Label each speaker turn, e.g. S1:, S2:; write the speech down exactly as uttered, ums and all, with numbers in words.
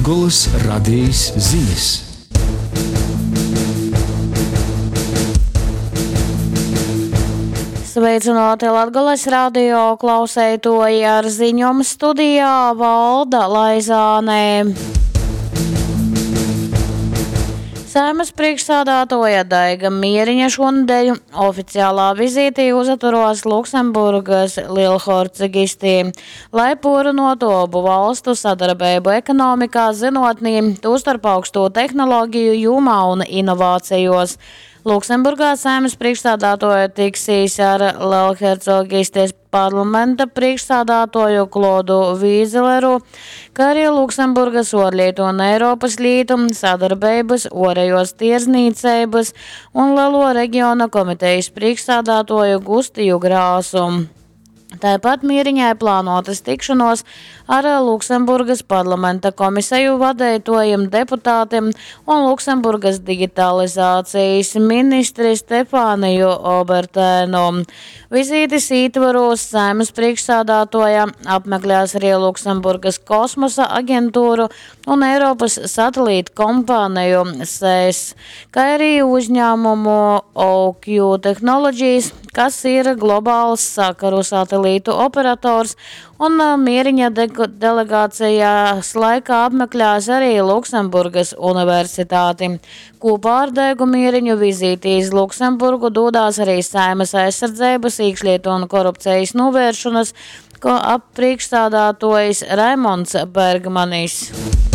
S1: Latgolys Radejis zinis.
S2: Sveicināti Latgales radio klauseitoji, ar ziņom studijā Valda Laizāne. Saeimas priekšsādātoja Daiga Mieriņa šonadēļ oficiālā vizītī uzaturos Luksemburgas Lielhercogistī, lai porunotu obu valstu sadarbeibu ekonomikā, zynotnī, tūstarp augstū tehnologiju jūmā un inovācijos. Luksemburgā Saeimas priekšsādātoja tiksīs ar Lielhercogistes parlamenta priekšsādātoju Klodu Vīzeleru, kā arī Luksemburgas orlietu un Eiropas lītu, sadarbeibas, orējos tirzniecības un Lielo regiona komitejas priekšsādātoju Gustiju Grāsu. Tāpat Mieriņai plānotas tikšanos ar Luksemburgas parlamenta komisiju vadētojiem deputātiem un Luksemburgas digitalizācijas ministri Stefāniju Obertēnu. Vizītes ītvaros Saeimas priekšsādātoja apmeklēs arī Luksemburgas kosmosa aģentūru un Eiropas satelītu kompāniju S E S, kā arī uzņēmumu O Q Technologies, kas ir globāls sakaru satelītu operators, un Mieriņa de-, delegācijas laikā apmeklēs arī Luksemburgas universitāti. Kopā ar Daigu Mieriņu vizīti iz Luksemburgu dodās arī Saeimas aizsardzības, iekšlietu un korupcijas novēršanas ko ap priekšstādātojs Raimonds Bergmanis.